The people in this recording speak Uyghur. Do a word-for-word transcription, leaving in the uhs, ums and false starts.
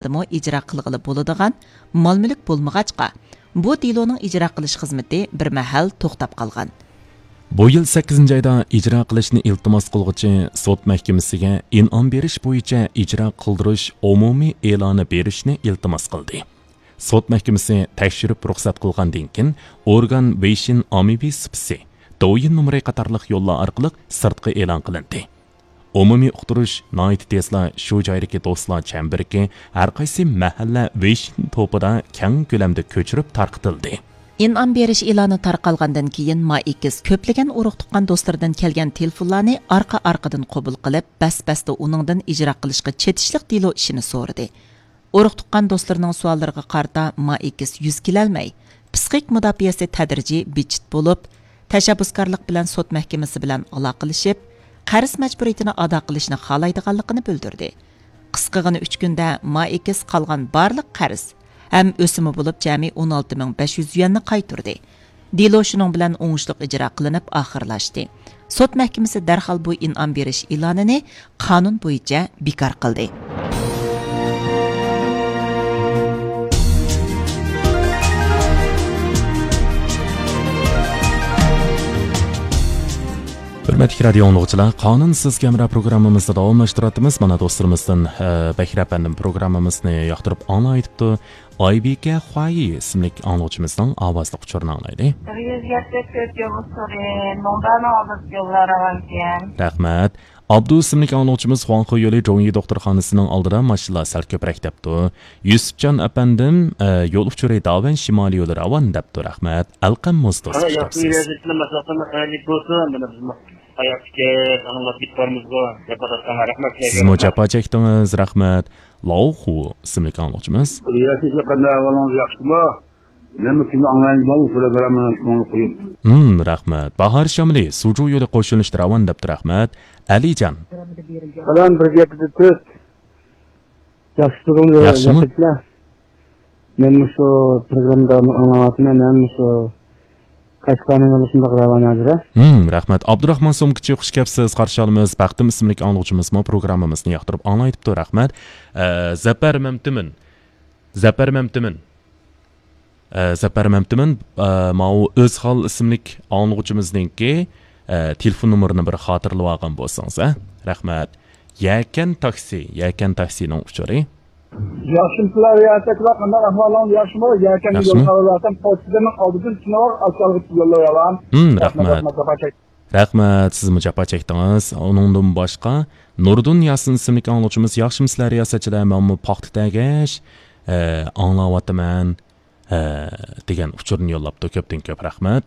دېلودىمۇ ئىجرا قىلغىلى بولىدىغان مال-مۈلۈك بولمىغاچقا، بۇ دېلونىڭ ئىجرا قىلىش خىزمىتى بىر مەھەل توختاپ قالغان. بۇ يىل سەككىزىنچى ئايدا ئىجرا قىلىشنى ئىلتىماس قىلغۇچى سوت مەھكىمىسىگە ئىنئام بېرىش بويىچە ئىجرا قىلدۇرۇش ئومۇمىي ئېلانى بېرىشنى ئىلتىماس قىلدى. سوت مەھكىمىسى تەكشۈرۈپ رۇخسەت قىلغاندىن كېيىن، ئورگان ۋېيشىن ئاممىۋى سۇپىسى، دويىن نومۇرى قاتارلىق يوللار ئارقىلىق سىرتقا ئېلان قىلىندى. ئومۇمىي ئۇقتۇرۇش ناھايىتى تېزلا شۇ جايدىكى دوستلار چەمبىرىكى ھەر قايسى مەھەللە ۋېيشىن توپىدا كەڭ كۆلەمدە كۆچۈرۈپ تارقىتىلدى. ئىنئام بېرىش ئېلانى تارقالغاندىن كېيىن، ما ئېكس كۆپلىگەن ئۇرۇق-تۇغقان دوستلىرىدىن كەلگەن تېلېفونلارنى ئارقا-ئارقىدىن قوبۇل قىلىپ، بەس-بەستە ئۇنىڭدىن ئىجرا قىلىشقا چېتىشلىق دېلو ئىشىنى سورىدى. ئۇرۇق-تۇغقان دوستلىرىنىڭ سوئاللىرىغا قارىتا ما ئېكس يۈز كېلەلمەي، پسىخىك مۇداپىئەسى تەدرىجىي بىتچىت بولۇپ، تەشەببۇسكارلىق بىلەن سوت مەھكىمىسى بىلەن ئالاقىلىشىپ، قەرز مەجبۇرىيىتىنى ئادا قىلىشنى خالايدىغانلىقىنى بىلدۈردى. قىسقىغىنە ئۈچ كۈندە ما ئېكس قالغان بارلىق قەرز ھەم ئۆسۈمى بولۇپ جەمئىي ئون ئالتە مىڭ بەش يۈز يۈەننى قايتۇردى. دېلو شۇنىڭ بىلەن ئوڭۇشلۇق ئىجرا قىلىنىپ ئاخىرلاشتى. سوت مەھكىمىسى دەرھال بۇ ئىنئام بېرىش ئېلانىنى قانۇن بويىچە بىكار قىلدى. ھۆرمەتلىك رادىيو ئاڭلىغۇچىلار، قانۇن سىزگە ھەمراھ پروگراممىمىزنى داۋاملاشتۇرۇۋاتىمىز. مانا دوستلىرىمىزدىن، ئە، بەكرى ئەپەندىم پروگراممىمىزنى ياقتۇرۇپ ئاڭلاۋېتىپتۇ. ئايبىكە خۇايى ئىسىملىك ئاڭلىغۇچىمىزنىڭ ئاۋازلىق ئۇچۇرىنى ئاڭلايلى. بىر يۈز يەتتە تۆت يول ئۇچۇرى، نومۇرنى ئالدۇرۇپ يوللار راۋانكەن. رەھمەت. ئابدۇ ئىسىملىك ئاڭلىغۇچىمىز خۇاڭخې يولى جوڭيى دوختۇرخانىسىنىڭ ئالدىدا ماشىنىلار سەل كۆپرەك دەپتۇ. يۈسۈپجان ئەپەندىم، ئە، يول ئۇچۇرى داۋەن شىمالىي يولى راۋان دەپتۇ. رەھمەت. ئەلقەم مۇز توسۇپ كېتىپسىز. ياخشى، مەسلىھەتلىرىڭلار خەيرلىك بولسۇن. مانا بىزمۇ ھاياتتىكى ئاڭلاپ كېتىپ بارمىزغۇ. جاپا تارتقانغا رەھمەت. سىزمۇ جاپا چەكتىڭىز. رەھمەت. لاۋخۇ ئىسىملىك ئاڭلىغۇچىمىز. ياخشى، قانداق ئەھۋالىڭىز، ياخشىمۇ؟ نېمە كۈنى ئاڭلايمەن، بۇ پروگراممىنى كۆڭۈل قويۇپ. ھىم، رەھمەت. باھار شامىلى، سۇجۇ يولى قوشۇلۇشتا راۋان دەپتۇ، رەھمەت. ئەلىجان. سالام، بىر يەتتە تۆت. ياخشى تۇردۇڭ، ياخشىمۇ؟ ياخشى. مەن مۇشۇ پروگراممىدا ئاڭلاۋاتىمەن، مەن مۇشۇ قەشقەرنىڭ يولى شۇنداق راۋان ھازىر. ھىم، رەھمەت. ئابدۇراخمان سومكىچى، خۇش كەپسىز، قارشى ئالىمىز. بەختىم ئىسىملىك ئاڭلىغۇچىمىزمۇ پروگراممىمىزنى ياقتۇرۇپ ئاڭلايتىپتۇ، رەھمەت. ئە، زەپەر مەمتىمىن. زەپەر مەمتىمىن. ئە، زەپەر مەمتىمىن، ئە، ماۋۇ ئۆزھال ئىسىملىك ئاڭلىغۇچىمىزنىڭكى، ئە، تېلېفون نومۇرىنى بىر خاتىرىلەپ ئالغان بولسىڭىز، ھە؟ رەھمەت. يەكەن تاكسى، يەكەن تاكسىنىڭ ئۇچۇرى. ياخشىمۇسىلەر رىياسەتچىلەر، قانداق ئەھۋالىڭىز، ياخشىمۇ؟ يەكەن ياخشىمۇ؟ يول خەۋەرلەرسەن پوچتىدىن ئالدىدىن چىنىۋال ئاشكالغا يوللايالام. ھىم، رەھمەت، رەھمەت. رەھمەت، جاپا چەك. رەھمەت، سىزمۇ جاپا چەكتىڭىز. ئۇنىڭدىن باشقا، نۇردىن ياسىن ئىسىملىك ئاڭلىغۇچىمىز، ياخشىمۇسىلەر رىياسەتچىلەر، مەنمۇ پاختا تەگەش، ئە، ئاڭلاۋاتىمەن، ئە، دېگەن ئۇچۇرنى يوللاپتۇ. كۆپتىن كۆپ رەھمەت.